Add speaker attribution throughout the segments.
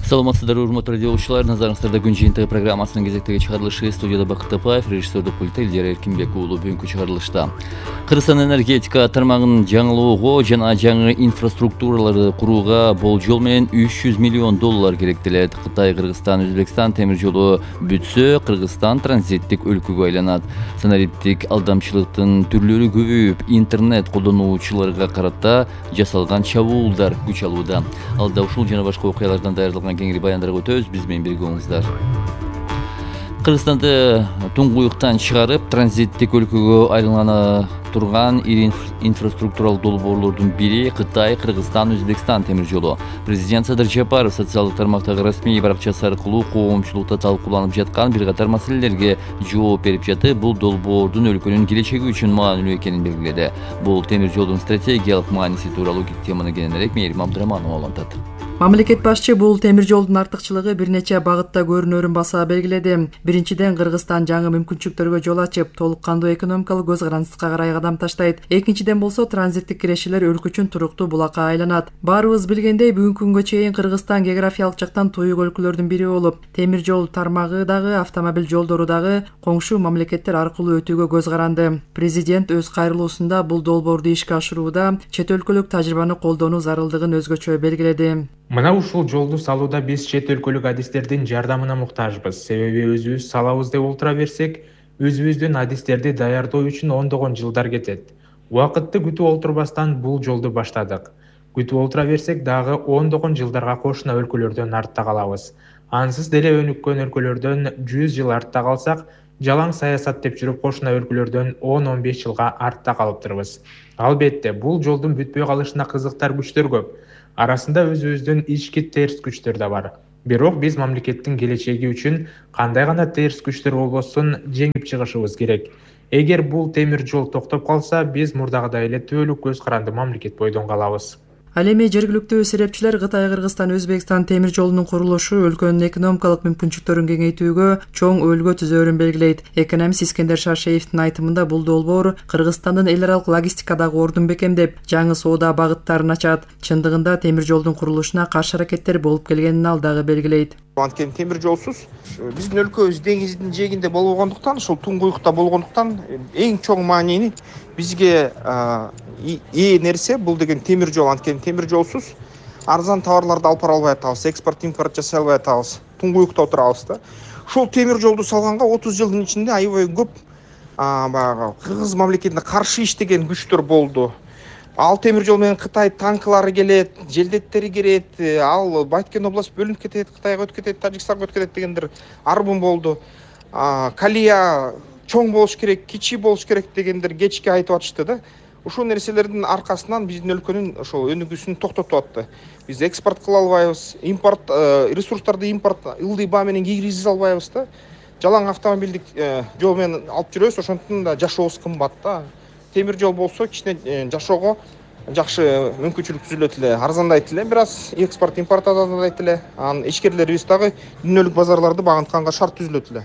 Speaker 1: Саламатсыздар, урматтуу радио окуучулар. Назарыңыздарда күн жыйынтыгы программасынын кезектеги чыгарылышы. Студияда Бакыт Тапаев, режиссердик пультта Элдер Эркинбек уулу. Бүгүнкү чыгарылышта Кыргызстан энергетика тармагын жаңылоого жана жаңы инфраструктураларды курууга болжол менен $300 миллион керектелет. Кытай, Кыргызстан, Өзбекстан темир жолу бүтсө, Кыргызстан транзиттик өлкөгө айланат. Санариптик алдамчылыктын түрлөрү көбөйүп, интернет колдонуучуларга карата жасалган чабуулдар күч алууда. Алда ушул жана башка окуялардан даярдалган кеңири баяндарга өтөбүз. Биз менен бирге болуңуздар. Кыргызстанды туңгуюктан чыгарып, транзиттик өлкөгө айлана турган ири инфраструктуралык долбоорлордун бири Кытай, Кыргызстан, Өзбекстан темир жолу. Президент Садыр Жапаров социалдык тармактагы расмий баракчасы аркылуу коомчулукта талкууланып жаткан бир катар маселелерге жооп берип жатып, бул долбоордун өлкөнүн келечеги үчүн маанилүү экенин белгиледи. Бул темир жолдун стратегиялык мааниси тууралуу теманы кененирээк Мээрим Абдыраманова улантат.
Speaker 2: Мамлекет башчы бул темир жолдун артыкчылыгы бир нече багытта көрүнөрүн баса белгиледи. Биринчиден, Кыргызстан жаңы мүмкүнчүлүктөргө жол ачып, толук кандуу экономикалык көз карандыска карай кадам таштайт. Экинчиден болсо, транзиттик кирешелер өлкө үчүн туруктуу булакка айланат. Баарыбыз билгендей, бүгүнкү күнгө чейин Кыргызстан географиялык жактан туюк өлкөлөрдүн бири болуп, темир жол тармагы дагы, автомобиль жолдору дагы коңшу мамлекеттер аркылуу өтүүгө көз каранды. Президент өз кайрылуусунда бул долбоорду ишке ашырууда чет өлкөлүк тажрыйбаны колдонуу зарылдыгын өзгөчө белгиледи.
Speaker 3: Мына ушул жолду салууда биз чет өлкөлүк адистердин жардамына муктажбыз. Себеби өзүбүз салабыз деп олтура берсек, өзүбүздүн адистерди даярдоо үчүн ондогон жылдар кетет. Убакытты күтүп олтурбастан бул жолду баштадык. Күтүп олтура берсек дагы ондогон жылдарга кошуна өлкөлөрдөн артта калабыз. Ансыз деле өнүккөн өлкөлөрдөн 100 жыл артта калсак, жалаң саясат деп жүрүп кошуна өлкөлөрдөн 10-15 жылга артта калыптырбыз. Албетте, бул жолдун бүтпөй калышына кызыктар күчтөр көп. Арасында өзүбүздүн ички терс күчтөр да бар. Бирок биз мамлекеттин келечеги үчүн кандай гана терс күчтөр болбосун жеңип чыгышыбыз керек. Эгер бул темир жол токтоп калса, биз мурдагыдай эле түбөлүк көз каранды мамлекет бойдон калабыз.
Speaker 2: Ал эми жергиликтүү серепчилер Кытай, Кыргызстан, Өзбекстан темир жолунун курулушу өлкөнүн экономикалык мүмкүнчүлүктөрүн кеңейтүүгө чоң өлгө түзөөрүн белгилейт. Экономист Искендер Шаршеевдин айтымында бул долбоор Кыргызстандын эл аралык логистикадагы ордун бекемдеп, жаңы соода багыттарын ачат. Чындыгында темир жолдун курулушуна каршы аракеттер болуп келгенин ал дагы белгилейт.
Speaker 4: Анткени темир жолсуз биздин өлкөбүз деңиздин жээгинде болгондуктан, ушул туңгуюкта болгондуктан эң чоң маанини бизге ээ нерсе бул деген темир жол. Анткени темир жолсуз арзан товарларды алып бара албай атабыз, экспорт импорт жасай албай атабыз, туңгуюкта отурабыз да. Ушул темир жолду салганга 30 жылдын ичинде аябай көп баягы Кыргыз мамлекетине каршы иштеген күчтөр болду. Ал темир жол менен Кытай танкылары келет, желдеттери кирет, ал Байткен область бөлүнүп кетет, Кытайга өтүп кетет, Тажикстанга өтүп кетет дегендер арбын болду. Калия чоң болуш керек, кичи болуш керек дегендер кечке айтып атышты да. Ушул нерселердин аркасынан биздин өлкөнүн ошол өнүгүүсүн токтотуп атты. Биз экспорт кыла албайбыз, импорт ресурстарды ылдый баа менен киргизе албайбыз да. Жалаң автомобилдик жол менен алып жүрөбүз, ошондуктан да жашообуз кымбат да. Темир жол болсо кичине жашоого жакшы мүмкүнчүлүк түзүлөт эле, арзандайт эле, бир аз экспорт импорт арзандайт эле. Анан ичкерлерибиз дагы дүйнөлүк базарларды багынтканга шарт түзүлөт эле.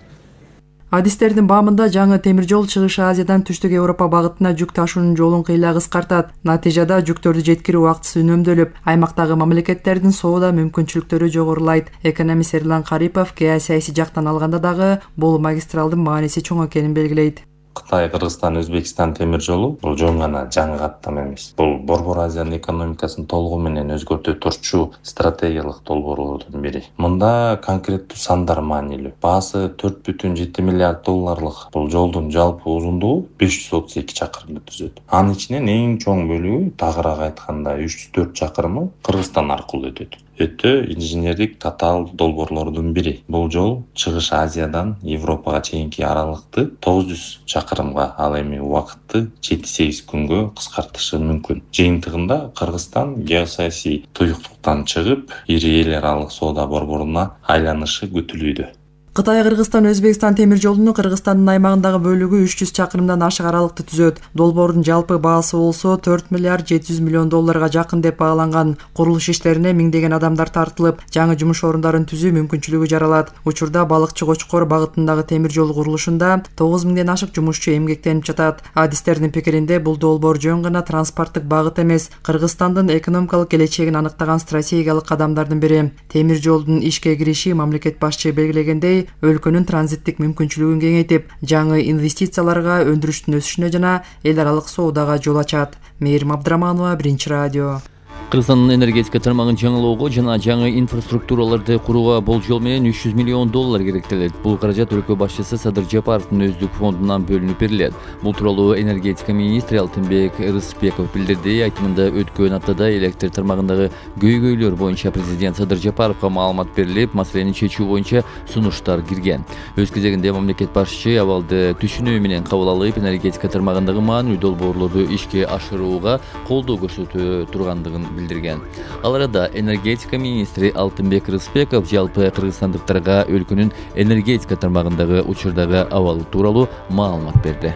Speaker 2: Адистердин баамында жаңы темир жол Чыгыш Азиядан Түштүк Европа багытына жүк ташуунун жолун кыйла кыскартат. Натыйжада жүктөрдү жеткирүү убактысы үнөмдөлүп, аймактагы мамлекеттердин соода мүмкүнчүлүктөрү жогорулайт. Экономист Эрлан Карипов геосаясий жактан алганда дагы бул магистралдын мааниси чоң экенин белгилейт.
Speaker 5: Кытай, Кыргызстан, Өзбекстан темир жолу бул жөн гана жаңы каттам эмес. Бул Борбор Азиянын экономикасын толугу менен өзгөртө турчу стратегиялык долбоорлордун бири. Мында конкреттүү сандар маанилүү. Баасы $4,7 миллиард бул жолдун жалпы узундугу 532 чакырымды түзөт. Анын ичинен эң чоң бөлүгү, тагыраак айтканда 304 чакырымы Кыргызстан аркылуу өтөт. Өтө инженердик татаал долбоорлордун бири. Бул жол Чыгыш Азиядан Европага чейинки аралыкты 900 чакырымга, ал эми убакытты 7-8 күнгө кыскартышы мүмкүн. Жыйынтыгында Кыргызстан геосаясий туюктуктан чыгып, ири эл аралык соода борборуна айланышы күтүлүүдө.
Speaker 2: Кытай Кыргызстан Өзбекстан темир жолунун Кыргызстандын аймагындагы бөлүгү 300 чакырымдан ашык аралыкты түзөт. Долбоордун жалпы баасы болсо 4 миллиард 700 миллион долларга жакын деп бааланган. Курулуш иштерине миңдеген адамдар тартылып, жаңы жумуш орундарын түзүү мүмкүнчүлүгү жаралат. Учурда балыкчы Кочкор багытындагы темир жол курулушунда 9 миңден ашык жумушчу эмгектенип жатат. Адистердин пикиринде бул долбоор жөн гана транспорттук багыт эмес, Кыргызстандын экономикалык келечегин аныктаган стратегиялык кадамдардын бири. Темир жолдун ишке кириши мамлекет башчы белгилегендей өлкөнүн транзиттик мүмкүнчүлүгүн кеңейтип, жаңы инвестицияларга, өндүрүштүн өсүшүнө жана эл аралык соодага жол ачат. Мээрим Абдыраманова, Биринчи радио.
Speaker 1: Кыргызстандын энергетика тармагын жаңылоого жана жаңы инфраструктураларды курууга болжол менен 300 миллион доллар керектелет. Бул каражат өлкө башчысы Садыр Жапаровдун өздүк фондунан бөлүнүп берилет. Бул тууралуу энергетика министри Алтынбек Рыспеков билдирди. Айтымында өткөн аптада электр тармагындагы көйгөйлөр боюнча президент Садыр Жапаровго маалымат берилип, маселени чечүү боюнча сунуштар кирген. Өз кезегинде мамлекет башчы абалды түшүнүү менен кабыл алып, энергетика тармагындагы маанилүү долбоорлорду ишке ашырууга колдоо көрсөтө тургандыгын билдирген. Ал арада энергетика министри Алтынбек Рыспеков жалпы кыргызстандыктарга өлкөнүн энергетика тармагындагы учурдагы абалы тууралуу маалымат берди.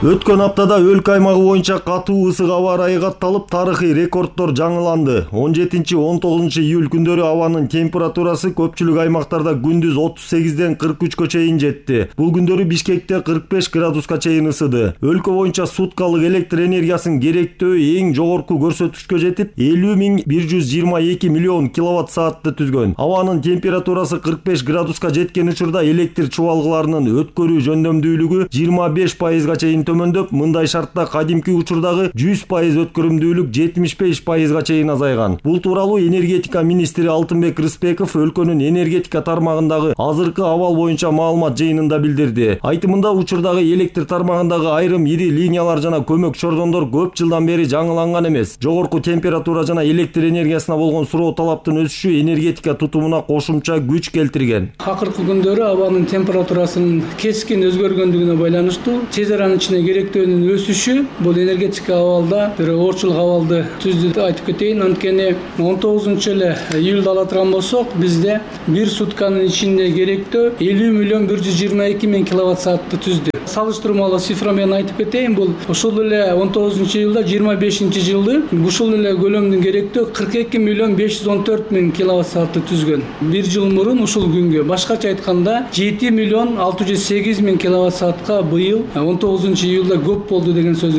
Speaker 6: Өткөн аптада өлкө аймагы боюнча катуу ысык аба ырайы катталып, тарыхый рекорддор жаңыланды. 17-19 июль күндөрү абанын температурасы көпчүлүк аймактарда күндүз 38ден 43кө чейин жетти. Бул күндөрү Бишкекте 45 градуска чейин ысыды. Өлкө боюнча суткалык электр энергиясын керектөө эң жогорку көрсөткүчкө жетип, 50.122 миллион киловатт саатты түзгөн. Абанын температурасы 45 градуска жеткен учурда электр чубалгыларынын өткөрүү жөндөмдүүлүгү 25%га чейин төмөндөп, мындай шартта кадимки учурдагы 100% өткөрүмдүүлүк 75%га чейин азайган. Бул тууралуу энергетика министри Алтынбек Рыспеков өлкөнүн энергетика тармагындагы азыркы абал боюнча маалымат жыйынында билдирди. Айтымында учурдагы электр тармагындагы айрым ири линиялар жана көмөк чордондор көп жылдан бери жаңыланган эмес. Жогорку температура жана электр энергиясына болгон суроо талаптын өсүшү энергетика тутумуна кошумча күч келтирген.
Speaker 7: Акыркы күндөрү абанын температурасынын кескин өзгөргөндүгүнө байланыштуу тез аранын ичинде керектөөнүн өсүшү бул энергетика абалда бир оорчулук абалды түздү деп айтып кетейин. Анткени 19-июлда ала турган болсок, бизде бир сутканын ичинде керектөө 50.122 киловатт саатты түздү. Салыштырмалуу цифра менен айтып кетейин, бул ушул эле 19-июлда 25-жылды ушул эле көлөмдүн керектөө 42.514 киловатт саатты түзгөн. Бир жыл мурун ушул күнгө, башкача айтканда 7.608 киловатт саатка быйыл 19-июлда көп болду деген сөз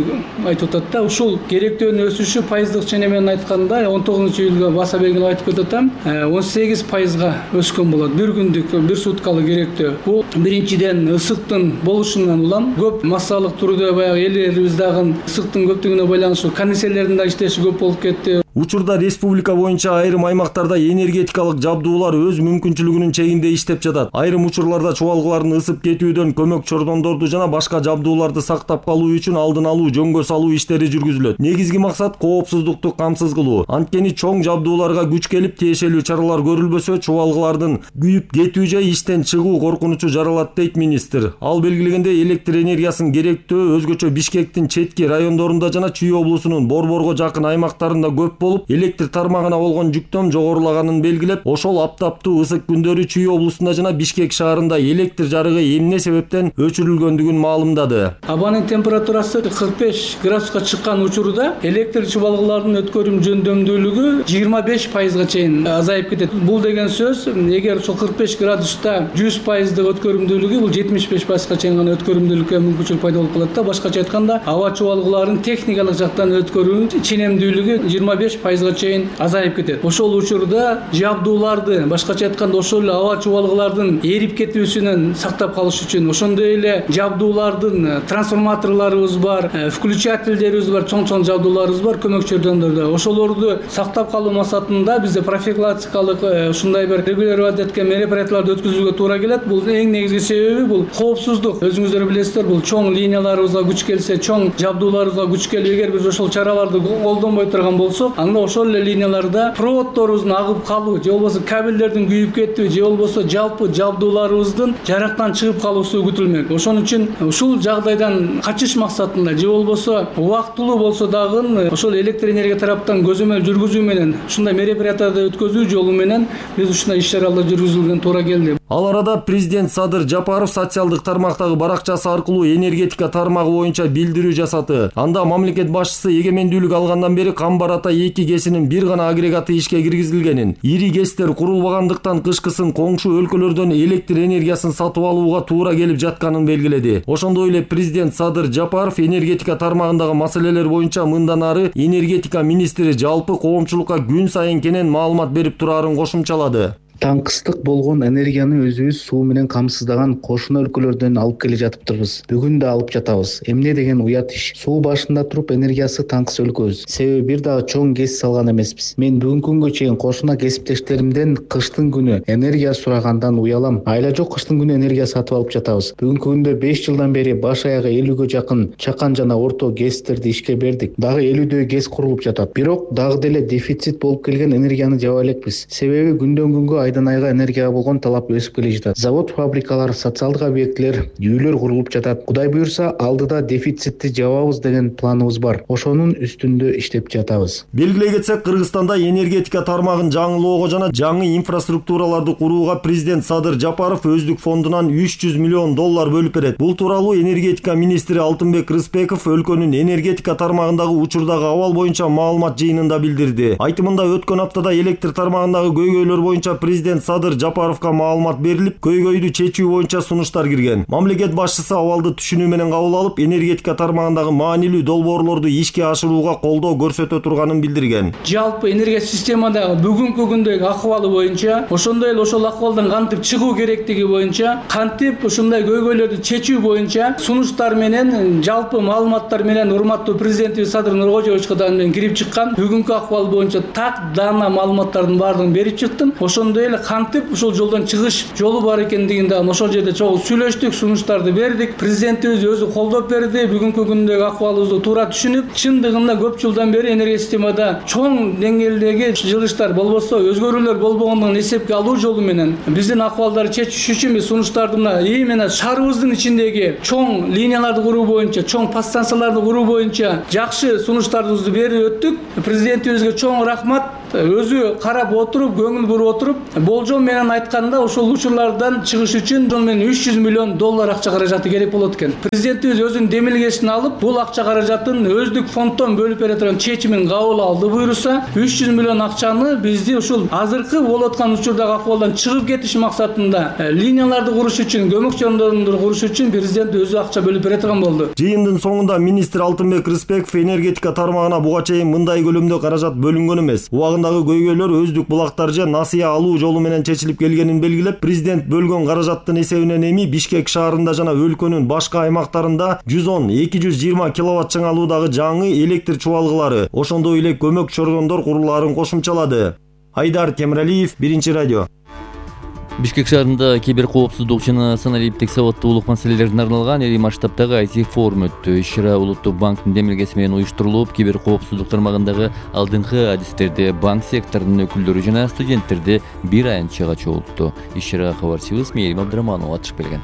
Speaker 7: айтып атат да. Ушул керектөөнүн өсүшү пайыздык чене менен айтканда 19-июлга баса бергенде айтып кетем, 18%га өскөн болот. Бир күндүк, бир суткалык керектөө. Бул биринчиден ысыктын болушунан улам, көп массалык түрдө баягы элибиздагы ысыктын көптүгүнө байланыштуу кондиционерлердин да иштеши көп болуп кетти.
Speaker 6: Учурда республика боюнча айрым аймактарда энергетикалык жабдуулар өз мүмкүнчүлүгүнүн чегинде иштеп жатат. Айрым учурларда чубалгылардын ысып кетүүдөн көмөк чордондорду жана башка жабдууларды сактап калуу үчүн алдын алуу, жөнгө салуу иштери жүргүзүлөт. Негизги максат коопсуздукту камсыз кылуу. Анткени чоң жабдууларга күч келип, тиешелүү чаралар көрүлбөсө, чубалгылардын күйүп кетүү же иштен чыгуу коркунучу жаралат дейт министр. Ал белгилегенде электр энергиясын керектөө өзгөчө Бишкектин четки райондорунда жана Чүй облусунун Борборго жакын аймактарында көп болуп, электр тармагына болгон жүктөм жогорулаганын белгилеп, ошол аптаптуу ысык күндөрү Чүй облусунда жана Бишкек шаарында электр жарыгы эмне себептен өчүрүлгөндүгүн маалымдады.
Speaker 7: Абанын температурасы 45 градуска чыккан учурда электр чубалгыларынын өткөрүм жөндөмдүүлүгү 25%га чейин азайып кетет. Бул деген сөз, эгер ошол 45 градуста 100%дык өткөрүмдүүлүгү бул 75%га чейин гана өткөрүмдүүлүккө мүмкүнчүлүк пайда болуп калат да. Башкача айтканда, аба чубалгыларынын техникалык жактан өткөрүү ченемдүүлүгү 25%га чейин азайып кетет. Ошол учурда жабдууларды, башкача айтканда, ошол эле аба чубалгылардын эрип кетүүсүнөн сактап калыш үчүн, ошондой эле жабдуулардын трансформаторлорубуз бар, включательдерибиз бар, чоң жабдууларыбыз бар көмөк чордондордо. Ошолорду сактап калуу максатында бизде профилактикалык ушундай бир регулировать эткен мероприятияларды өткөзүүгө туура келет. Бул эң негизги себеби бул коопсуздук. Өзүңүздөр билесиздер, бул чоң линияларыбызга күч келсе, чоң жабдууларыбызга күч келип, эгер биз ошол чараларды колдонбой турган болсок, анда ошол эле линияларда проводдорубуздун агып калуу же болбосо кабелдердин күйүп кетүү же болбосо жалпы жабдууларыбыздын жарактан чыгып калуусу күтүлмөк. Ошон үчүн ушул жагдайдан качыш максатында же болбосо убактылуу болсо дагы ошол электр энергия тараптан көзөмөл жүргүзүү менен ушундай мероприятияларды өткөзүү жолу менен биз ушундай иш-чаралар жүргүзүлгөн туура келди.
Speaker 6: Ал арада президент Садыр Жапаров социалдык тармактагы баракчасы аркылуу энергетика тармагы боюнча билдирүү жасады. Анда мамлекет башчысы эгемендүүлүк алгандан бери Камбар Ата 2 КЭСинин бир гана агрегаты ишке киргизилгенин, ири КЭСтер курулбагандыктан кышкысын коңшу өлкөлөрдөн электр энергиясын сатып алууга туура келип жатканын белгиледи. Ошондой эле президент Садыр Жапаров энергетика тармагындагы маселелер боюнча мындан ары энергетика министри жалпы коомчулукка күн сайын кенен маалымат берип турарын кошумчалады.
Speaker 8: Таңкыстык болгон энергияны өзүбүз суу менен камсыздаган кошуна өлкөлөрдөн алып келе жатыптырбыз. Бүгүн да алып жатабыз. Эмне деген уят иш. Суу башында туруп энергиясы таңкыс өлкөбүз. Себеби бир дагы чоң КЭС салган эмеспиз. Мен бүгүнкү күнгө чейин кошуна кесиптештеримден кыштын күнү энергия сурагандан уялам. Айла жок кыштын күнү энергия сатып алып жатабыз. Бүгүнкү күндө 5 жылдан бери баш аягы 50гө жакын чакан жана орто КЭСтерди ишке бердик. Дагы 50дөй КЭС курулуп жатат. Бирок дагы деле дефицит болуп келген энергияны жаба элекпиз. Себеби күндөн күнгө айдан айга энергияга болгон талап өсүп келе жатат. Завод, фабрикалар, социалдык объектилер, үйлөр курулуп жатат. Кудай буюрса, алдыда дефицитти жабабыз деген планыбыз бар. Ошонун үстүндө иштеп жатабыз.
Speaker 6: Белгилей кетсек, Кыргызстанда энергетика тармагын жаңылоого жана жаңы инфраструктураларды курууга президент Садыр Жапаров өздүк фондунан $300 миллион бөлүп берет. Бул тууралуу энергетика министри Алтынбек Рыспеков өлкөнүн энергетика тармагындагы учурдагы абал боюнча маалымат жыйынында билдирди. Айтымында өткөн аптада электр тармагындагы көйгөйлөр боюнча президент Садыр Жапаровга маалымат берилип, көйгөйдү чечүү боюнча сунуштар кирген. Мамлекет башчысы абалды түшүнүү менен кабыл алып, энергетика тармагындагы маанилүү долбоорлорду ишке ашырууга колдоо көрсөтө турганын билдирген.
Speaker 7: Жалпы энергия системадагы бүгүнкү күндөгү акыбалы боюнча, ошондой эле ошол акыбалдан кантип чыгуу керектиги боюнча, кантип ушундай көйгөйлөрдү чечүү боюнча сунуштар менен, жалпы маалыматтар менен урматтуу президентибиз Садыр Нуркожоевичке да кирип чыккан. Бүгүнкү акыбал боюнча так даана маалыматтардын баардыгын берип чыктым. Ошондой эле кантип ушул жолдон чыгыш жолу бар экендигин да ошол жерде чогуу сүйлөштүк, сунуштарды бердик. Президентибиз өзү колдоп берди. Бүгүнкү күндөгү акыбалыбызды туура түшүнүп, чындыгында көп жылдан бери энергия системада чоң деңгээлдеги жылыштар болбосо, өзгөрүүлөр болбогондугун эсепке алуу жолу менен биздин акыбалдарды чечиш үчүн биз сунуштарды именно шаарыбыздын ичиндеги чоң линияларды куруу боюнча, чоң подстанцияларды куруу боюнча жакшы сунуштарыбызды берип өттүк. Президентибизге чоң рахмат. Өзү карап отуруп, көңүл буруп отуруп, болжол менен айтканда ошол учурлардан чыгыш үчүн $300 миллион акча каражаты керек болот экен. Президентибиз өзүнүн демилгесин алып, бул акча каражатын өздүк фонддон бөлүп бере турган чечимин кабыл алды буйруса, $300 миллион акчаны бизди ушул азыркы болуп аткан учурдагы акыбалдан чыгып кетиш максатында линияларды куруш үчүн, көмөк чоңдорду куруш үчүн президент өзү акча бөлүп бере турган болду.
Speaker 6: Жыйындын соңунда министр Алтынбек Рыспеков энергетика тармагына буга чейин мындай көлөмдө каражат бөлүнгөн эмес. Убагындагы көйгөйлөр өздүк булактар же насыя алуу жолу менен чечилип келгенин белгилеп, президент бөлгөн каражаттын эсебинен эми Бишкек шаарында жана өлкөнүн башка аймактарында 110-220 киловатт чыңалуудагы жаңы электр чубалгылары, ошондой эле көмөк чордондор курулаарын кошумчалады. Айдар Темиралиев, Биринчи радио.
Speaker 1: Бишкек шаарында кибер коопсуздук жана саналиптик сабаттуулук маселелерине арналган ири масштабтагы IT форум өттү. Иш-чара Улуттук банктын демилгеси менен уюштурулуп, кибер коопсуздук тармагындагы алдыңкы адистерди банк секторунун өкүлдөрү жана студенттерди бир аянтчага чогултту. Иш-чарага кабарчыбыз Мээрим Абдыраманова атышып келген.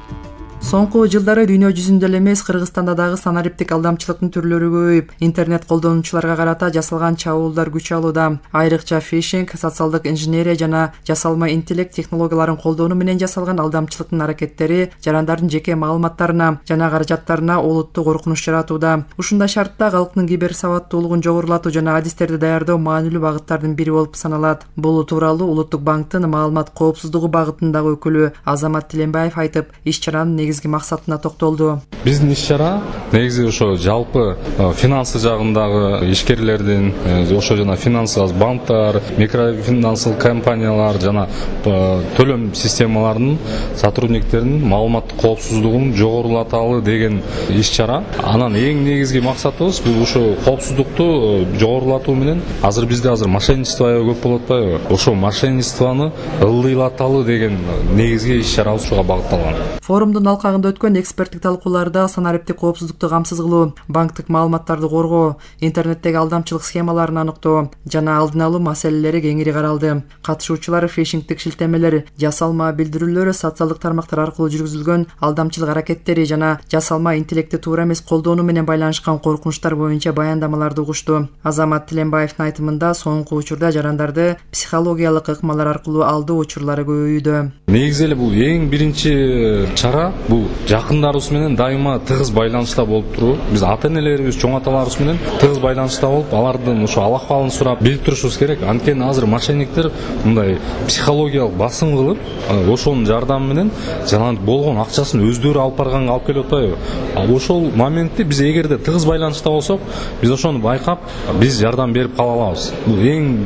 Speaker 2: Соңку жылдары дүйнө жүзүндө эле эмес, Кыргызстанда дагы санариптик алдамчылыктын түрлөрү көбөйүп, интернет колдонуучуларга карата жасалган чабуулдар күч алууда. Айрыкча фишинг, социалдык инженерия жана жасалма интеллект технологияларын колдонуу менен жасалган алдамчылыктын аракеттери жарандардын жеке маалыматтарына жана каражаттарына олуттуу коркунуч жаратууда. Ушундай шартта калктын кибер сабаттуулугун жогорулатуу жана адистерди даярдоо маанилүү багыттардын бири болуп саналат. Бул тууралуу Улуттук банктын маалымат коопсуздугу багытындагы өкүлү Азамат Тиленбаев айтып, иш-чаранын негизги максатына токтолду.
Speaker 9: Биздин иш-чара негизи ошо жалпы финансы жагындагы ишкерлердин, ошо жана финансы банктар, микрофинансылык компаниялар жана төлөм системаларынын сотрудниктеринин маалыматтык коопсуздугун жогорулаталы деген иш-чара. Анан эң негизги максатыбыз бул ошо коопсуздукту жогорулатуу менен бизде мошенничество көп болуп атпайбы? Ошо мошенничествону ылдыйлаталы деген негизги иш-чара ушуга багытталган.
Speaker 2: Форумдун алкагында өткөн эксперттик талкууларда санариптик коопсуздукту камсыз кылуу, банктык маалыматтарды коргоо, интернеттеги алдамчылык схемаларын аныктоо жана алдын алуу маселелери кеңири каралды. Катышуучулар фишингдик шилтемелер, жасалма билдирүүлөр, социалдык тармактар аркылуу жүргүзүлгөн алдамчылык аракеттери жана жасалма интеллектти туура эмес колдонуу менен байланышкан коркунучтар боюнча баяндамаларды угушту. Азамат Тиленбаевдин айтымында соңку учурда жарандарды психологиялык ыкмалар аркылуу алдоо учурлары көбөйүүдө.
Speaker 9: Негизи эле бул эң биринчи чара бул жакындарыбыз менен дайыма тыгыз байланышта болуп туруу. Биз ата-энелерибиз, чоң аталарыбыз менен тыгыз байланышта болуп, алардын ошо ал-акыбалын сурап билип турушубуз керек. Анткени азыр мошенниктер мындай психологиялык басым кылып, ошонун жардамы менен жана болгон акчасын өздөрү алып барганга алып келип атпайбы? Ошол моментте биз эгерде тыгыз байланышта болсок, биз ошону байкап, биз жардам берип кала алабыз. Бул эң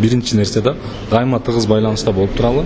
Speaker 9: биринчи нерсе да, дайыма тыгыз байланышта болуп туралы.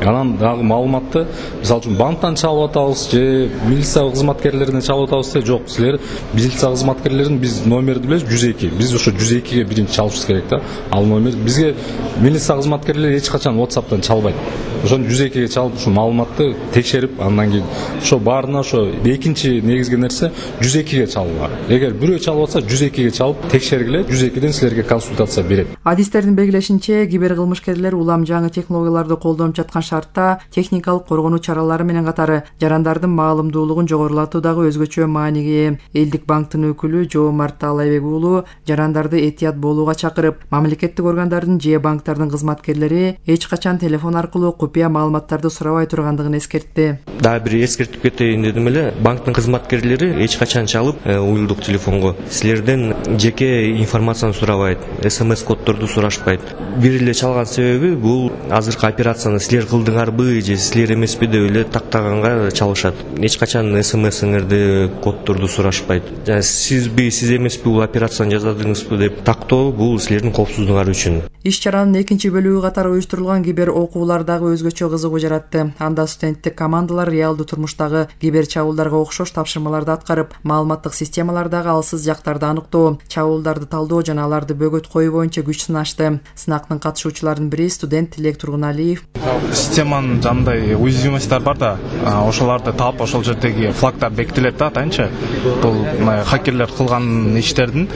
Speaker 9: Анан дагы маалыматты, мисалы үчүн банктан чалып атабыз же милиция кызматкерлеринен чалып атабыз де, жок, силер милиция кызматкерлеринин биз номерди билебиз 102. Биз ошо 102ге биринчи чалышыбыз керек да. Ал номер бизге милиция кызматкерлери эч качан WhatsApp'тан чалбайт. Ошону 102ге чалып, ушул маалыматты текшерип, андан кийин ошо баарына ошо экинчи негизги нерсе 102ге чалуу. Эгер бирөө чалып атса 102ге чалып текшергиле, 102ден силерге консультация берет.
Speaker 2: Адистердин белгилешинче, киберкылмышкерлер улам жаңы технологияларды колдонуп жаткан шартта техникалык коргонуу чаралары менен катары жарандардын маалымдуулугун жогорулатуу дагы өзгөчө мааниге ээ. Элдик банктын өкүлү Жоомарт Таалайбек уулу жарандарды этият болууга чакырып, мамлекеттик органдардын же банктардын кызматкерлери эч качан телефон аркылуу купуя маалыматтарды сурабай тургандыгын эскертти.
Speaker 10: Дагы бир эскертип кетейин дедим эле. Банктын кызматкерлери эч качан чалып, уюлдук телефонго силерден жеке информацияны сурабайт, СМС коддорду сурашпайт. Бир эле чалган себеби бул азыркы операцияны силер кылдыңарбы же силер эмеспи деп эле тактаганга чалышат. Эч качан СМСиңерди, коддорду сурашпайт. Сизби, сиз эмеспи бул операцияны жасадыңызбы деп тактоо бул силердин коопсуздугуңар үчүн.
Speaker 2: Иш-чаранын экинчи бөлүгү катары уюштурулган кибер окуулар дагы өзгөчө кызыгуу жаратты. Анда студенттик командалар реалдуу турмуштагы кибер чабуулдарга окшош тапшырмаларды аткарып, маалыматтык системалардагы алсыз жактарды аныктоо, чабуулдарды талдоо жана аларды бөгөт коюу боюнча күч сынашты. Сынактын катышуучуларынын бири студент Тилек Тургуналиев.
Speaker 11: Системанын жандай уязвимосттар бар да, ошолорду таап, ошол жердеги флагтар бекитилет да, атайынчы. Бул хакерлер кылган иштердин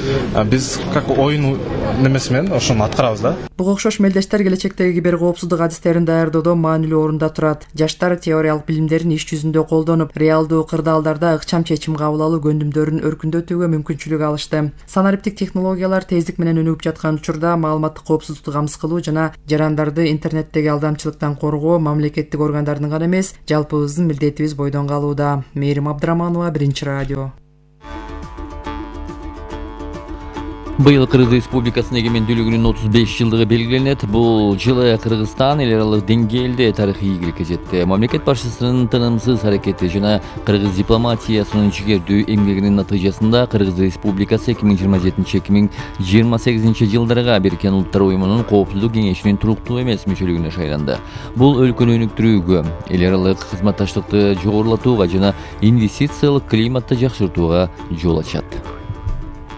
Speaker 11: биз как оюн немеси менен ошону аткарабыз да.
Speaker 2: Буга окшош мелдештер келечектеги кибер коопсуздук адистерин даярдоодо маанилүү орунда турат. Жаштар теориялык билимдерин иш жүзүндө колдонуп, реалдуу кырдаалдарда ыкчам чечим кабыл алуу көндүмдөрүн өркүндөтүүгө мүмкүнчүлүк алышты. Санариптик технологиялар тездик менен өнүгүп жаткан учурда маалыматтык коопсуздукту камсыз кылуу жана жарандарды интернеттеги алдамчылыктан коргоо мамлекеттик органдардын гана эмес, жалпыбыздын милдетибиз бойдон калууда. Мээрим Абдыраманова, Биринчи радио.
Speaker 1: Быйыл Кыргыз Республикасынын эгемендүүлүгүнүн 35 жылдыгы белгиленет. Бул жылы Кыргызстан эл аралык деңгээлде тарыхый ийгиликке жетти. Мамлекет башчысынын тынымсыз аракети жана кыргыз дипломатиясынын жигердүү эмгегинин натыйжасында Кыргыз Республикасы 2027-2028 жылдарга Бириккен Улуттар Уюмунун Коопсуздук кеңешинин туруктуу эмес мүчөлүгүнө шайланды. Бул өлкөнү өнүктүрүүгө, эл аралык кызматташтыкты жогорулатууга жана инвестициялык климатты жакшыртууга жол ачат.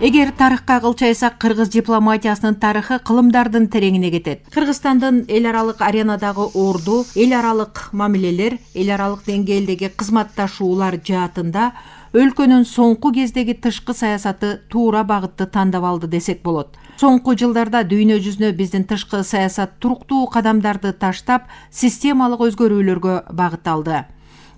Speaker 12: Эгер тарыхка кылчайсак, кыргыз дипломатиясынын тарыхы кылымдардын тереңине кетет. Кыргызстандын эл аралык аренадагы орду, эл аралык мамилелер, эл аралык деңгээлдеги кызматташуулар жаатында өлкөнүн соңку кездеги тышкы саясаты туура багытты тандап алды десек болот. Соңку жылдарда дүйнө жүзүнө биздин тышкы саясат туруктуу кадамдарды таштап, системалык өзгөрүүлөргө багыт алды.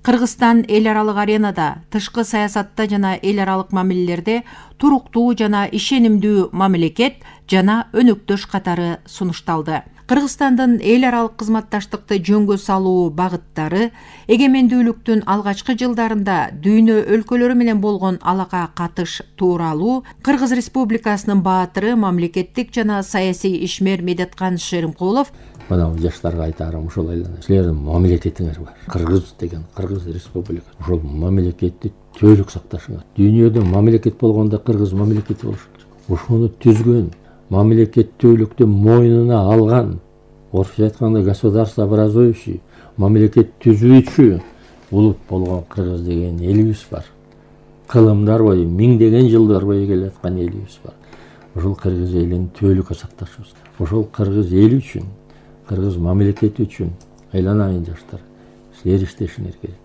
Speaker 12: Кыргызстан эл аралык аренада, тышкы саясатта жана эл аралык мамилелерде туруктуу жана ишенимдүү мамлекет жана өнөктөш катары сунушталды. Кыргызстандын эл аралык кызматташтыкты жөнгө салуу багыттары эгемендүүлүктүн алгачкы жылдарында дүйнө өлкөлөрү менен болгон алака катыш тууралуу Кыргыз Республикасынын баатыры, мамлекеттик жана саясий ишмер Медеткан Шеримкулов
Speaker 13: мына жаштарга айтарым ушул эле. Силердин мамлекетиңер бар. Кыргыз деген Кыргыз Республика. Ошол мамлекетти түбөлүк сакташыңар. Дүйнөдө мамлекет болгондо Кыргыз мамлекети болуш керек. Ошону түзгөн, мамлекеттүүлүктү мойнуна алган, орусча айтканда государствообразующий, мамлекет түзүүчү улут болгон Кыргыз деген элибиз бар. Кылымдар бою, миңдеген жылдар бою келаткан элибиз бар. Ошол Кыргыз элин түбөлүккө сакташыбыз. Ошол Кыргыз эли үчүн, Кыргыз мамлекети үчүн айланайын жаштар, силер иштешиңер керек.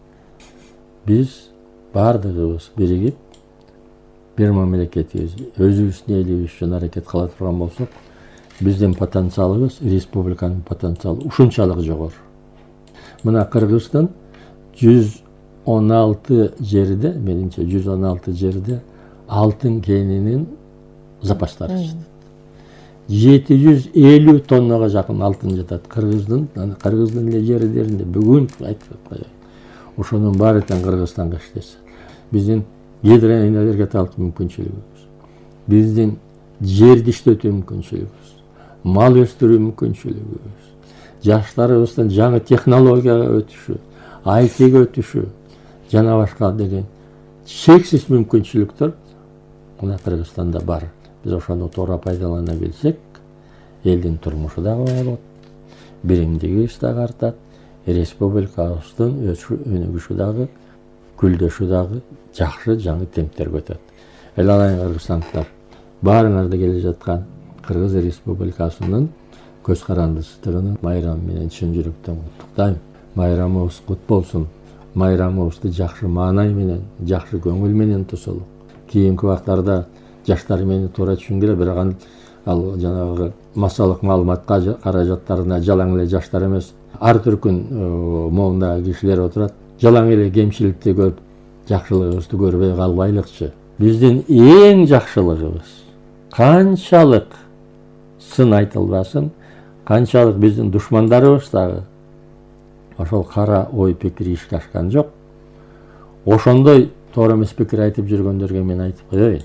Speaker 13: биз баардыгыбыз биригип бир мамлекетибиз өзүбүздүн элибиз үчүн аракет кыла турган болсок, биздин потенциалыбыз, республиканын потенциалы ушунчалык жогору. Мына Кыргызстан 116 жерде, менимче 116 жерде алтын кенинин запастары жатат. 750 тоннага жакын алтын жатат Кыргыздын эле жерлеринде. Бүгүн айтып коеюн. Ошонун баары тең Кыргызстанга иштесе. Биздин гидроэнергетикалык мүмкүнчүлүгүбүз, биздин жерди иштетүү мүмкүнчүлүгүбүз, мал өстүрүү мүмкүнчүлүгүбүз, жаштарыбыздын жаңы технологияга өтүшү, ITге өтүшү жана башка деген чексиз мүмкүнчүлүктөр мына Кыргызстанда бар. Биз ошону туура пайдалана билсек, элдин турмушу дагы болот, биримдигибиз дагы артат, республикабыздын өнүгүшү дагы, гүлдөшү дагы жакшы жаңы темптерге өтөт. Эл алайын кыргызстандыктар, баарыңарды келе жаткан Кыргыз Республикасынын көз карандысыздыгын майрамы менен чын жүрөктөн куттуктайм. Майрамыбыз кут болсун. Майрамыбызды жакшы маанай менен, жакшы көңүл менен тосолу. Кийинки убактарда жаштар мени туура түшүнгүлө, бирок ал жанагы массалык маалымат каражаттарына жалаң эле жаштар эмес, ар түркүн моундагы кишилер отурат. Жалаң эле кемчиликти көрүп, жакшылыгыбызды көрбөй калбайлыкчы. Биздин эң жакшылыгыбыз канчалык сын айтылбасын, канчалык биздин душмандарыбыз дагы ошол кара ой пикири ишке ашкан жок. Ошондой туура эмес пикир айтып жүргөндөргө мен айтып коеюн.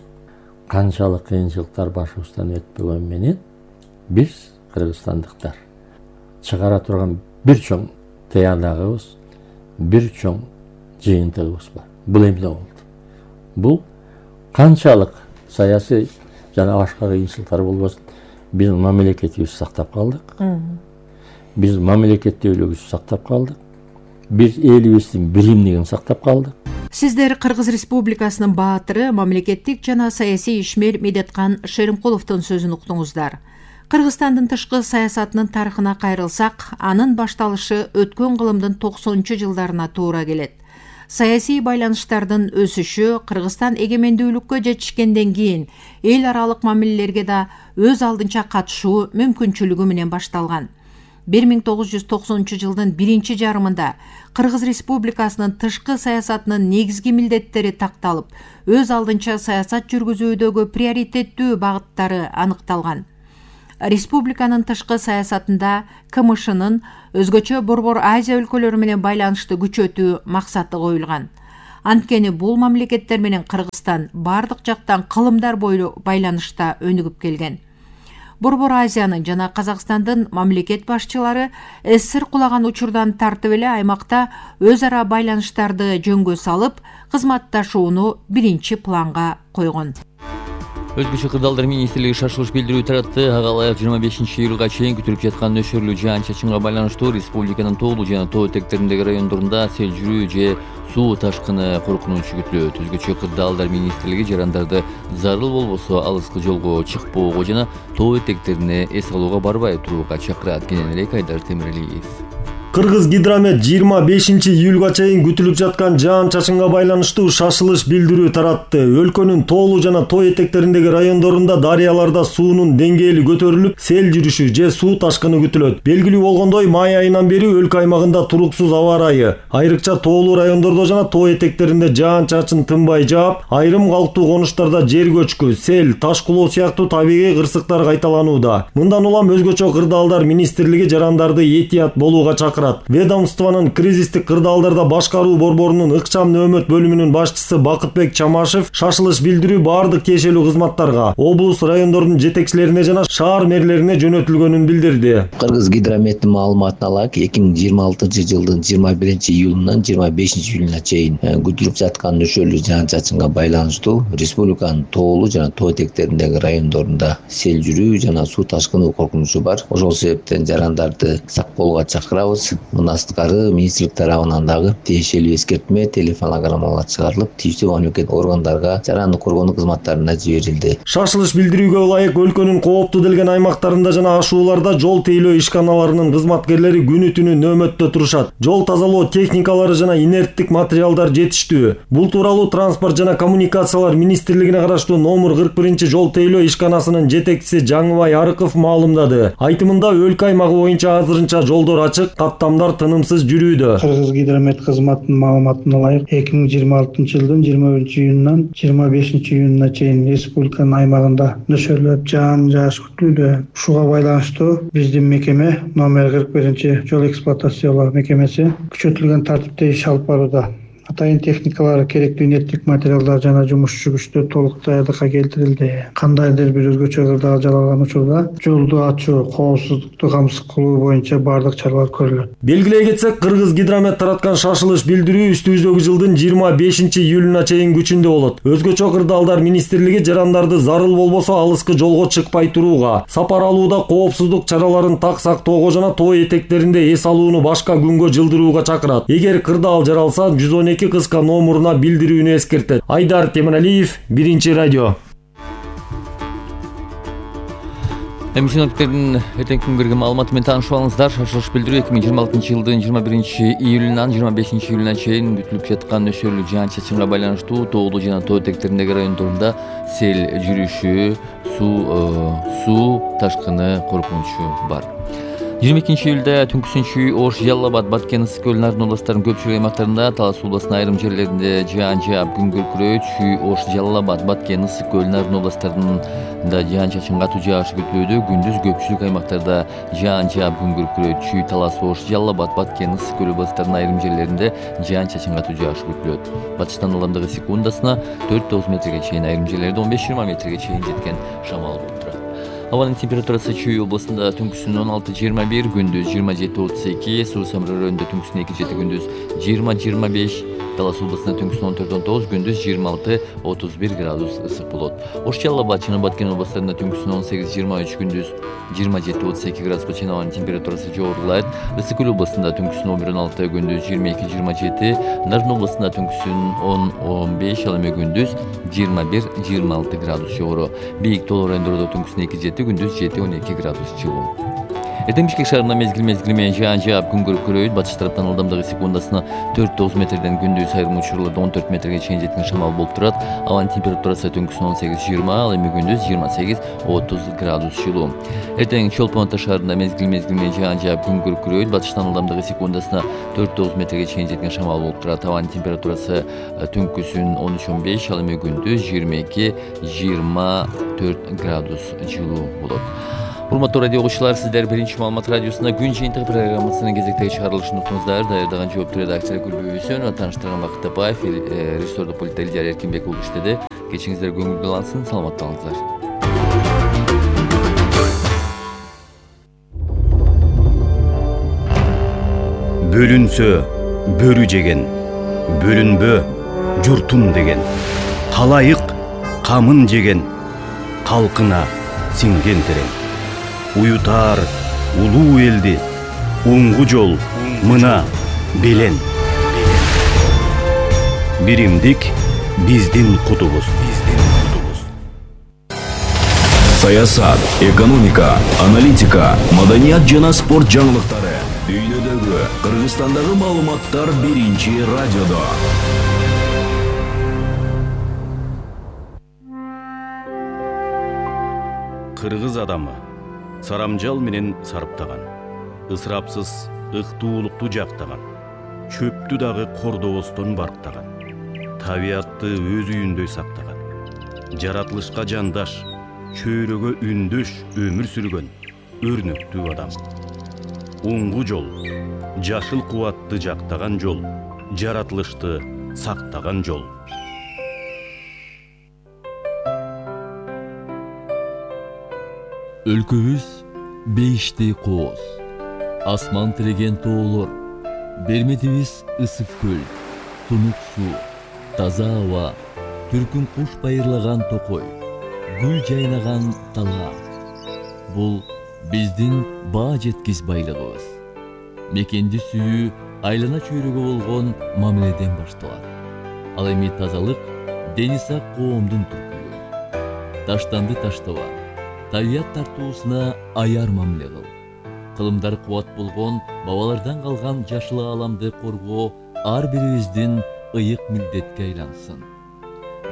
Speaker 13: Канчалык кыйынчылыктар башыбыздан өтпөгөн менен биз кыргызстандыктар чыгара турган бир чоң тыянагыбыз, бир чоң жыйынтыгыбыз бар. Бул эмне болду? Бул канчалык саясий жана башка кыйынчылыктар болбосун, биз мамлекетибизди сактап калдык. Биз мамлекеттүүлүгүбүздү сактап калдык. Биз элибиздин биримдигин сактап калдык.
Speaker 12: Сиздер Кыргыз Республикасынын баатыры, мамлекеттик жана саясий ишмер Медеткан Шеримкуловдун сөзүн уктуңуздар. Кыргызстандын тышкы саясатынын тарыхына кайрылсак, анын башталышы өткөн кылымдын 90-жылдарына туура келет. Саясий байланыштардын өсүшү Кыргызстан эгемендүүлүккө жетишкенден кийин эл аралык мамилелерге да өз алдынча катышуу мүмкүнчүлүгү менен башталган. 1990 жылдын биринчи жарымында Кыргыз Республикасынын тышкы саясатынын негизги милдеттери такталып, өз алдынча саясат жүргүзүүдөгү приоритеттүү багыттары аныкталган. Республиканын тышкы саясатында КМШнын өзгөчө Борбор Азия өлкөлөрү менен байланышты күчөтүү максаты коюлган. Анткени бул мамлекеттер менен Кыргызстан бардык жактан кылымдар бойлуу байланышта өнүгүп келген. Борбор Азиянын жана Казакстандын мамлекет башчылары СССР кулаган учурдан тартып эле аймакта өз ара байланыштарды жөнгө салып, кызматташууну биринчи планга койгон.
Speaker 1: Өзгөчө кырдаалдар министрлиги шашылыш билдирүү таратты. Ага ылайык 25 июлга чейин күтүлүп жаткан нөшөрлүү жаан-чачынга байланыштуу республиканын тоолуу жана тоо этектериндеги райондорунда сел жүрүү же суу ташкыны коркунучу күтүлөт. Өзгөчө кырдаалдар министрлиги жарандарды зарыл болбосо алыскы жолго чыкпоого жана тоо этектерине эс алууга барбай турууга чакырат. Кенен элек Айдар Темиралиев.
Speaker 6: Кыргыз Гидромет 25 июлга чейин күтүлүп жаткан жаан-чачынга байланыштуу шашылыш билдирүү таратты. Өлкөнүн тоолуу жана тоо этектериндеги райондорунда дарыяларда суунун деңгээли көтөрүлүп, сел жүрүшү же суу ташкыны күтүлөт. Белгилүү болгондой, май айынан бери өлкө аймагында туруксуз аба ырайы, айрыкча тоолуу райондордо жана тоо этектеринде жаан-чачын тынбай жаап, айрым калктуу конуштарда жер көчкү, сел, таш кулоо сыяктуу табигый кырсыктар кайталанууда. Мындан улам өзгөчө кырдаалдар министрлиги жарандарды этият болууга чакырат. Ведомствонун кризистик кырдаалдарда башкаруу борборунун ыкчам нөөмөт бөлүмүнүн башчысы Бакытбек Чамашев шашылыш билдирүү баардык тиешелүү кызматтарга, облус райондордун жетекчилерине жана шаар мэрлерине жөнөтүлгөнүн билдирди.
Speaker 14: Кыргыз Гидрометтин маалыматына ылайык 2026 жылдын 21 июлунан 25 июлуна чейин күтүлүп жаткан нөшөрлүү жаан-чачынга байланыштуу республиканын тоолуу жана тоо этектериндеги райондорунда сел жүрүү жана суу ташкыны коркунучу бар. Ошол себептен жарандарды сак болууга чакырабыз. Мындан сырткары министрлик тарабынан дагы тиешелүү эскертме, телефонограммалар чыгарылып, тийиштүү мамлекет органдарга жарандык коргонуу кызматтарына жиберилди.
Speaker 6: Шашылыш билдирүүгө ылайык өлкөнүн кооптуу делген аймактарында жана ашууларда жол тейлөө ишканаларынын кызматкерлери күнү түнү нөөмөттө турушат. Жол тазалоо техникалары жана инерттик материалдар жетиштүү. Бул тууралуу Транспорт жана коммуникациялар министрлигине караштуу номер 41 жол тейлөө ишканасынын жетекчиси Жаңыбай Арыков маалымдады. Айтымында өлкө аймагы боюнча азырынча жолдор ачык, каттамдар тынымсыз жүрүүдө.
Speaker 15: Кыргызгидромет кызматынын маалыматына ылайык 2026 жылдын 21 июнунан 25 июнуна чейин республиканын аймагында нөшөрлөп жаан-жааш күтүлүүдө. Ушуга байланыштуу биздин мекеме номер 41 жол эксплуатациялоо мекемеси күчөтүлгөн тартипте иш алып барууда. Атайын техникалар, керектүү инерттик материалдар жана жумушчу күчтөр толук даярдыкка келтирилди. Кандайдыр бир өзгөчө кырдаал жалалган учурда жолду ачуу, коопсуздукту камсыз кылуу боюнча бардык чаралар көрүлөт.
Speaker 6: Белгилей кетсек, Кыргызгидромет тараткан шашылыш билдирүү үстүбүздөгү жылдын 25 июлуна чейин күчүндө болот. Өзгөчө кырдаалдар министрлиги жарандарды зарыл болбосо алыскы жолго чыкпай турууга, сапар алууда коопсуздук чараларын так сактоого жана тоо этектеринде эс алууну башка күнгө жылдырууга чакырат. Эгер кырдаал жаралса, 112 кыска номуруна билдирүүнү эскертет. Айдар Темиралиев, Биринчи радио.
Speaker 1: Синоптиктердин эртеңки күнгөргө маалыматы менен таанышып алыңыздар. Шашылыш билдирүү 2026 жылдын 21 июлунан 25 июлуна чейин күтүлүп жаткан нөшөрлүү жаан-чачынга байланыштуу тоолуу жана тоо этектериндеги райондорунда сел жүрүшү, суу ташкыны коркунучу бар. 22 июлда түнкүсүнчү Ош, Жалал Абад, Баткен, Ысык көл, Нарын областарынын көпчүлүк аймактарында, Талас областынын айрым жерлеринде жаан жаап күн күркүрөйт. Ош, Жалал Абад, Баткен, Ысык көл, Нарын областарында жаан-чачын катуу жаашы күтүлүүдө. Күндүз көпчүлүк аймактарда жаан жаап күн күркүрөйт. Талас, Ош, Жалал Абад, Баткен, Ысык көл областарынын айрым жерлеринде жаан-чачын катуу жаашы күтүлөт. Батыштан ылдамдыгы секундасына 4-9 метрге чейин, айрым жерлерде 15-20 метрге чейин жеткен шамал болуп турат. Абанын температурасы Чүй областында түнкүсүн 16-21, күндүз 27-32, Суу Самыр районунда түнкүсүн 2-7, күндүз 20-25, Талас областында түнкүсүн 14-19, күндүз 26-31 градус ысык болот. Ош, Жалал Абад жана Баткен областарында түнкүсүн 18-23, күндүз 27-32 градуска чейин абанын температурасы жогорулайт. Ысык көл областында түнкүсүн 11-16, күндүз 22-27, Нарын областында түнкүсүн 10-15, ал эми күндүз 21-26 градус жогору. Бийик тоолуу райондордо түнкүсүн 2-7, күндүз 7-12 градус жылуу. Эртең Бишкек шаарында мезгил менен жаан жаап күн күркүрөйт. Батыш тараптан ылдамдыгы секундасына 4-9 метрден, күндүз айрым учурларда 14 метрге чейин жеткен шамал болуп турат. Абанын температурасы түнкүсүн 18-20, ал эми күндүз 28-30 градус жылуу. Эртең Чолпон Ата шаарында мезгил менен жаан жаап күн күркүрөйт. Батыштан ылдамдыгы секундасына 4-9 метрге чейин жеткен шамал болуп турат. Абанын температурасы түнкүсүн 13-15, ал эми күндүз 22-24 градус жылуу болот. Урматтуу радио угуучулар, сиздер Биринчи маалымат радиосунда күн жыйынтыгы программасынын кезектеги чыгарылышын уктуңуздар. Даярдаган жооптуу редакция Гүлбөйсөн, тааныштырган Бакыт Тапаев, режиссердик пультта Элдияр Эркинбек уулу иштеди. Кечиңиздер көңүлдүү алсын, саламатта болуңуздар.
Speaker 16: Бөлүнсө бөрү жеген, бөлүнбө журтум деген. Калайык камын жеген, калкына сиңген терең. Уютар улуу элди, уңгу жол мына белен. Биримдик биздин кутубуз.
Speaker 17: Саясат, экономика, аналитика, маданият жана спорт жаңылыктары. Дүйнөдөгү, Кыргызстандагы маалыматтар Биринчи радиодо.
Speaker 16: Кыргыз адамы сарамжал менен сарыптаган, ысырапсыз ыктуулукту жактаган, чөптү дагы кордобостон барктаган, табиатты өз үйүндөй сактаган, жаратылышка жандаш, чөйрөгө үндөш өмүр сүргөн өрнөктүү адам. Уңгу жол, жашыл кубатты жактаган жол, жаратылышты сактаган жол.
Speaker 18: Өлкөбүз бейишти кооз, асман тиреген тоолор, берметибиз ысык көл, тунук суу, таза аба, түркүн куш байырлаган токой, гүл жайнаган дала. Бул биздин баа жеткис байлыгыбыз. мекенди сүйүү айлана чөйрөгө болгон мамиледен башталат. Ал эми тазалык дени сак коомдун түркүлүгү. Таштанды таштаба, табият тартуусуна аяр мамиле кыл. Кылымдары кубат болгон бабалардан калган жашыл ааламды коргоо ар бирибиздин ыйык милдетке айлансын.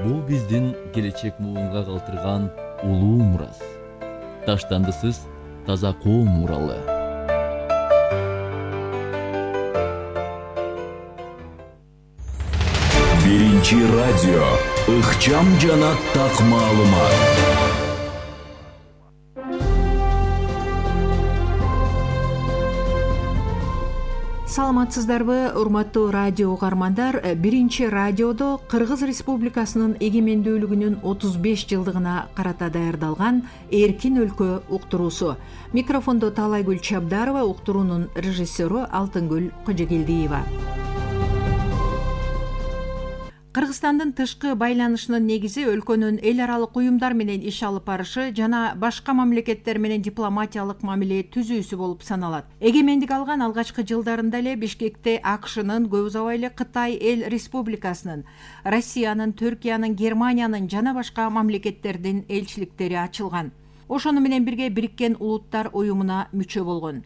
Speaker 18: Бул биздин келечек муунга калтырган улуу мурас. Таштандысыз таза коом муралы.
Speaker 17: Биринчи радио ыкчам жана так маалымат.
Speaker 12: Саламатсыздарбы, урматтуу радио угармандар. Биринчи радиодо Кыргыз Республикасынын эгемендүүлүгүнүн 35 жылдыгына карата даярдалган Эркин өлкө уктуруусу. Микрофондо Таалайгүл Чабдарова, уктуруунун режиссеру Алтынгүл Кожогелдиева. Кыргызстандын тышкы байланышынын негизи өлкөнүн эл аралык уюмдар менен иш алып барышы жана башка мамлекеттер менен дипломатиялык мамиле түзүүсү болуп саналат. Эгемендик алган алгачкы жылдарында эле Бишкекте АКШнын, көп узабай эле Кытай Эл Республикасынын, Россиянын, Түркиянын, Германиянын жана башка мамлекеттердин элчиликтери ачылган. Ошону менен бирге Бириккен Улуттар уюмуна мүчө болгон.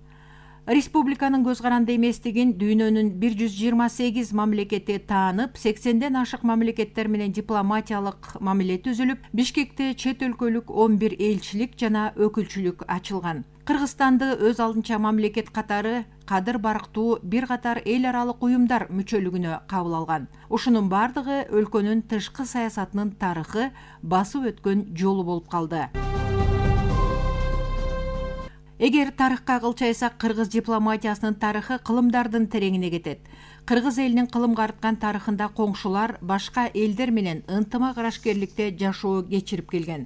Speaker 12: Республиканын көз каранды эместигин дүйнөнүн 128 мамлекети таанып, 80ден ашык мамлекеттер менен дипломатиялык мамиле түзүлүп, Бишкекте чет өлкөлүк 11 элчилик жана өкүлчүлүк ачылган. Кыргызстанды өз алдынча мамлекет катары кадыр барктуу бир катар эл аралык уюмдар мүчөлүгүнө кабыл алган. Ушунун бардыгы өлкөнүн тышкы саясатынын тарыхы, басып өткөн жолу болуп калды. Эгер тарыхка кылчайсак, кыргыз дипломатиясынын тарыхы кылымдардын тереңине кетет. Кыргыз элинин кылымга арткан тарыхында коңшулар башка элдер менен ынтымак арашкерликте жашоо кечирип келген.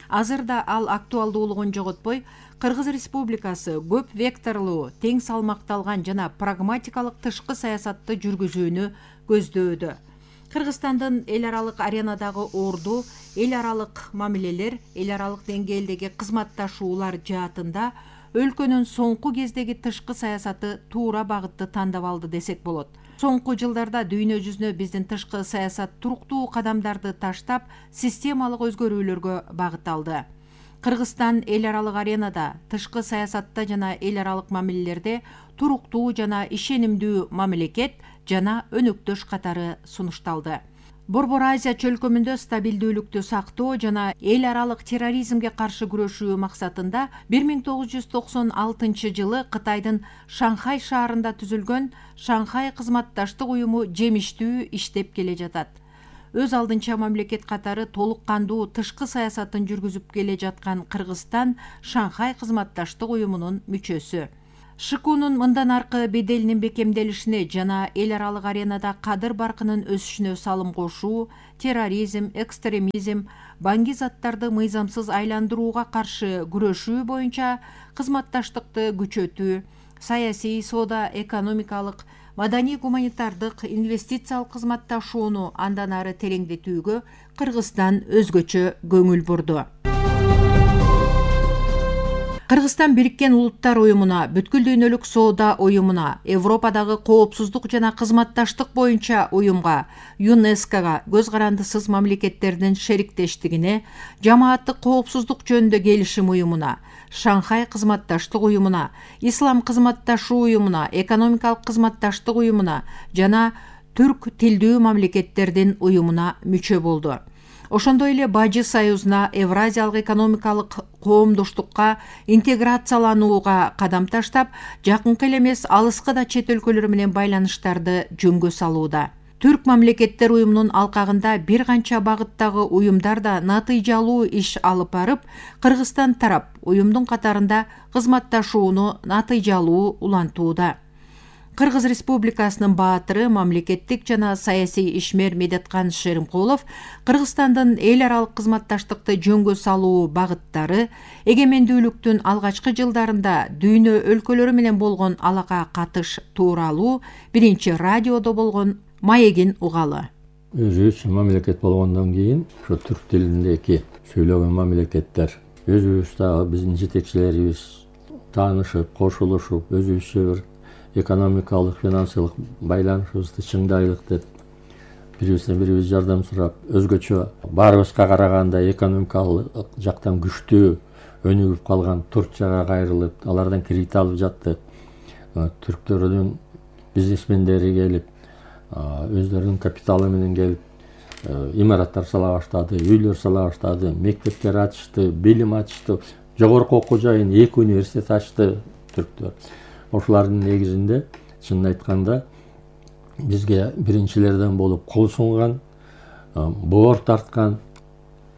Speaker 12: Азырда ал актуалдуулугун жоготпой, Кыргыз Республикасы көп векторлуу, тең салмакталган жана прагматикалык тышкы саясатты жүргүзүүнү көздөөдө. Кыргызстандын эл аралык аренадагы орду, эл аралык мамилелер, эл аралык деңгээлдеги кызматташуулар жаатында өлкөнүн соңку кездеги тышкы саясаты туура багытты тандап алды десек болот. Соңку жылдарда дүйнө жүзүнө биздин тышкы саясат туруктуу кадамдарды таштап, системалык өзгөрүүлөргө багыт алды. Кыргызстан эл аралык аренада, тышкы саясатта жана эл аралык мамилелерде туруктуу жана ишенимдүү мамлекет жана өнөктөш катары сунушталды. Борбор Азия чөлкөмүндө стабилдүүлүктү сактоо жана эл аралык терроризмге каршы күрөшүү максатында 1996 жылы Кытайдын Шанхай шаарында түзүлгөн Шанхай кызматташтык уюму жемиштүү иштеп келе жатат. Өз алдынча мамлекет катары толук кандуу тышкы саясатын жүргүзүп келе жаткан Кыргызстан Шанхай кызматташтык уюмунун мүчөсү. ШКУнун мындан аркы беделинин бекемделишине жана эл аралык аренада кадыр баркынын өсүшүнө салым кошуу, терроризм, экстремизм, баңги заттарды мыйзамсыз айландырууга каршы күрөшүү боюнча кызматташтыкты күчөтүү, саясий, соода, экономикалык, маданий-гуманитардык, инвестициялык кызматташууну андан ары тереңдетүүгө Кыргызстан өзгөчө көңүл бурду. Кыргызстан Бириккен Улуттар уюмуна, бүткүл дүйнөлүк соода уюмуна, Европадагы коопсуздук жана кызматташтык боюнча уюмга, ЮНЕСКОга, көз карандысыз мамлекеттердин шериктештигине, жамааттык коопсуздук жөнүндө келишим уюмуна, Шанхай кызматташтык уюмуна, Ислам кызматташуу уюмуна, экономикалык кызматташтык уюмуна жана түрк тилдүү мамлекеттердин уюмуна мүчө болду. Ошондой эле Бажы Союзуна, Евразиялык экономикалык коомдоштукка интеграцияланууга кадам таштап, жакынкы эле эмес алыскы да чет өлкөлөр менен байланыштарды жөнгө салууда. Түрк мамлекеттер уюмунун алкагында бир канча багыттагы уюмдар да натыйжалуу иш алып барып, Кыргызстан тарап уюмдун катарында кызматташууну натыйжалуу улантууда. Кыргыз Республикасынын баатыры, мамлекеттик жана саясий ишмер Медеткан Шеримкулов Кыргызстандын эл аралык кызматташтыкты жөнгө салуу багыттары, эгемендүүлүктүн алгачкы жылдарында дүйнө өлкөлөрү менен болгон алака катыш тууралуу биринчи радиодо болгон маегин угалы.
Speaker 13: Өзүбүз мамлекет болгондон кийин ошо түрк тилиндеги сүйлөгөн мамлекеттер өзүбүз дагы биздин жетекчилерибиз таанышып, кошулушуп, өзүбүзчө бир экономикалык финансылык байланышыбызды чыңдайлык деп бирибизден бирибиз жардам сурап, өзгөчө баарыбызга караганда экономикалык жактан күчтүү өнүгүп калган Турцияга кайрылып, алардан кредит алып жаттык. Түрктөрдүн бизнесмендери келип, өздөрүнүн капиталы менен келип, имараттар сала баштады, үйлөр сала баштады, мектептер ачышты, билим ачышты, жогорку окуу жайын 2 университет ачты түрктөр. Ошолардын негизинде чынын айтканда бизге биринчилерден болуп кол сунган, боор тарткан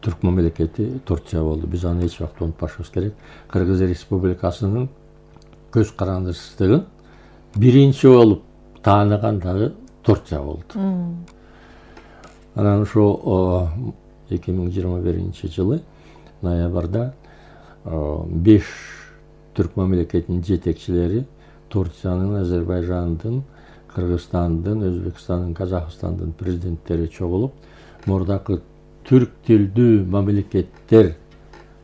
Speaker 13: түрк мамлекети Турция болду. Биз аны эч убакта унутпашыбыз керек. Кыргыз Республикасынын көз карандысыздыгын биринчи болуп тааныган дагы Турция болду. Анан ошо 2021-жылы ноябрда 5 түрк мамлекетинин жетекчилери Турциянын, Азербайжандын, Кыргызстандын, Өзбекстандын, Казакстандын президенттери чогулуп, мурдакы түрк тилдүү мамлекеттер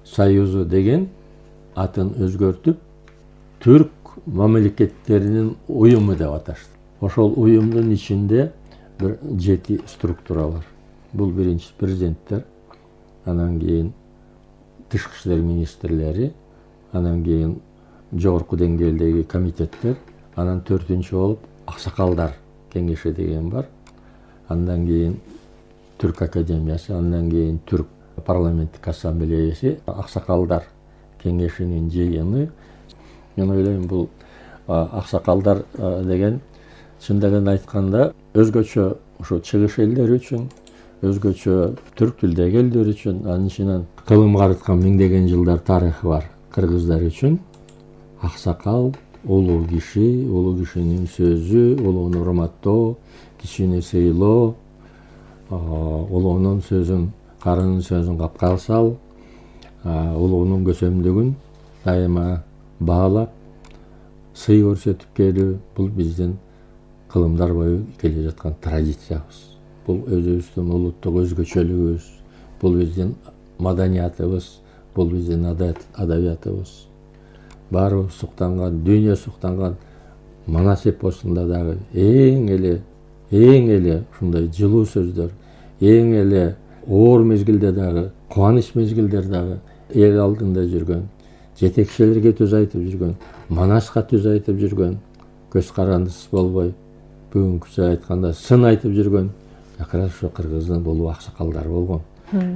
Speaker 13: союзу деген атын өзгөртүп, түрк мамлекеттеринин уюму деп аташты. Ошол уюмдун ичинде 7 структура бар. Бул биринчи президенттер, анан кийин тышкы иштер министрлери, анан кийин жогорку деңгээлдеги комитеттер, анан 4-үнчү болуп аксакалдар кеңеши деген бар. Андан кийин Түрк академиясы, андан кийин Түрк парламенттик ассамблеясы, аксакалдар кеңешинин жыйыны. Мен ойлойм, бул аксакалдар деген чындыгын айтканда өзгөчө ошо чыгыш элдери үчүн, өзгөчө түрк тилдеги элдер үчүн, анын ичинен кылым карыткан миңдеген жылдар тарыхы бар кыргыздар үчүн аксакал улуу кишинин сөзү, улууну урматтоо, кичини сыйлоо, улуунун сөзүн, карынын сөзүн капка сал, улуунун көсөмдүгүн дайыма баалап, сый көрсөтүп келүү, бул биздин кылымдар бою келе жаткан традициябыз. Бул өзүбүздүн улуттук өзгөчөлүгүбүз, бул биздин маданиятыбыз, бул биздин адабиятыбыз. Баарыбыз суктанган, дүйнө суктанган Манас эпосунда дагы эң эле ушундай жылуу сөздөр, эң эле оор мезгилде дагы, кубаныч мезгилдер дагы эл алдында жүргөн, жетекчилерге сөз айтып жүргөн, Манаска сөз айтып жүргөн, көз карандысыз болбой, бүгүнкүчө айтканда сын айтып жүргөн акыры ошо кыргыздын улуу аксакалдары болгон.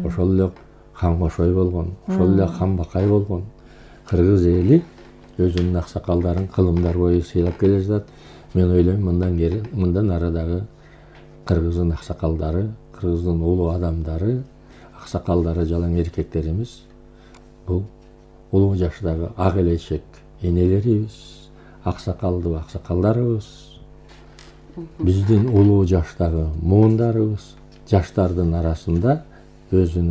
Speaker 13: Ошол эле хан Кошой болгон, ошол эле хан Бакай болгон. Кыргыз эли өзүнүн аксакалдарын кылымдар бою сыйлап келе жатат. Мен ойлойм, мындан ары дагы кыргыздын аксакалдары, кыргыздын улуу адамдары, аксакалдары, жалаң эркектерimiz бул улуу жаштагы ак элечек энелерибиз, аксакалдуу аксакалдарыбыз, биздин улуу жаштагы муундарыбыз, жаштардын арасында өзүнүн